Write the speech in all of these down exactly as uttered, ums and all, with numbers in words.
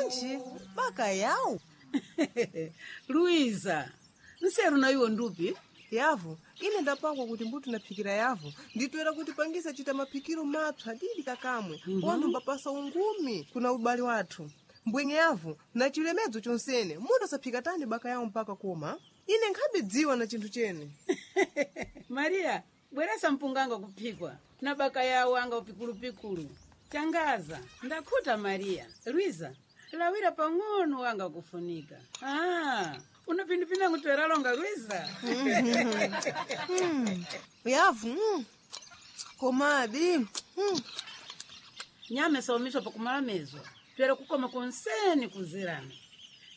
Bwanji baka yawu Luiza, nseru na iwo ndupi? Yavu ine ndapangwa kuti mbuti naphikira yavu nditwera kuti pangisa chita maphikiro mapsa didi kakamwe mm -hmm. Wanthu mbapasa ungumi kuna ubale wathu mbwenye yavu na chilemedzo chonsene munthu asaphika tani baka yawo mpaka koma ine nkhabe na chinthu chene. Maria, bweresa mpunga kuphikwa na baka yawo anga upikulupikulu changaza ndakhuta. Maria, Luiza, lawira pang'ono wanga kufunika. Ah, una phindu pinangu tweralonga, Luiza. mm. Yavu mm. Komadi mm. Nyama isaumiswa pakumala mezwa twere kukoma konseni kuzirana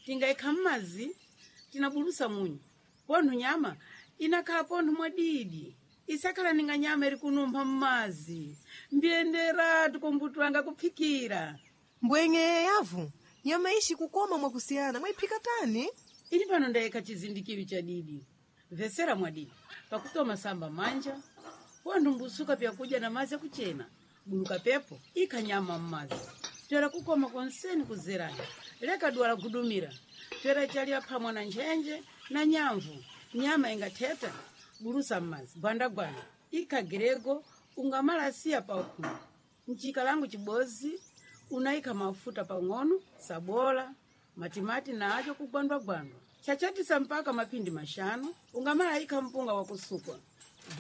tingaikha mmazi tinabulusa munyu pontho nyama inakhala pontho mwadidi isakhala ninga nyama iri kunumpha mmazi mbiyenderatu kombutu anga kuphikira. Mbwenye yavu nyama ishi kukoma mwakusiyana mwayiphika tani? Ili pano ndayikha chizindikiro cha didi vesera mwadidi pakutoma samba manja pontho mbusuka pyakudya na mazi akuchena buluka pepo ikha nyama mmazi twera kukoma konseni kuzerana leka dwala gudumira twera chalya phamwa na ntchentche na nyamvu nyama ingatheta bulusa mmazi gwandagwanda ikha grego ungamalasiya pakhulu mchikalango chibozi unayikha mafuta pang'ono sabola matimati na acho kugwandwagwandwa chachatisa mpaka mapindi mashanu ungamala ikha mpunga wakusukwa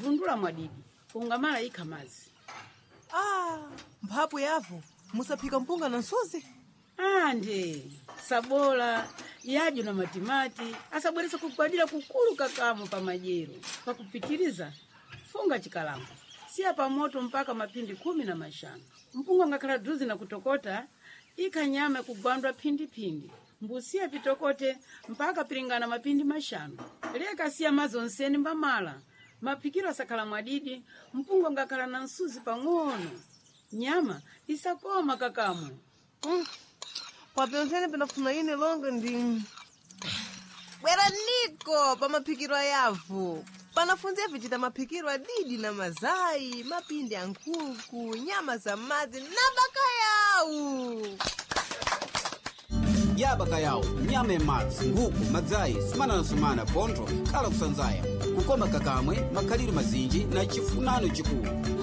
vundula mwadidi ungamala ikha mazi. Ah, mphapu yavu musaphika mpunga na msuzi? Ande sabola yadyo na matimati asabweresa kugwadira kukulu kakamo pamajero pakupitiriza funga chikalango siya pamoto mpaka mapindi khumi na mashanu mpunga ngakhala druzi na kutokota ikha nyama kugwandwa phindipindi mbusiya pitokote mpaka pilingana mapindi mashanu leka siya madzi onseni mbamala maphikiro asakhala mwadidi mpunga ngakhala na msuzi pang'ono nyama isakoma kakamwe. Mm. Papyonsene pinafuna ine longa ndi bwera niko pamaphikiro ayavu panafunze vichita maphikiro adidi na mazayi mapindi a nkhuku nyama za madzi na bakayawu. Ya bakayawu nyama ya madzi nguku madzayi sumana na sumana pontho khala kusanzaya kukoma kakamwe makhalidwe mazinji na chifunano chikulu.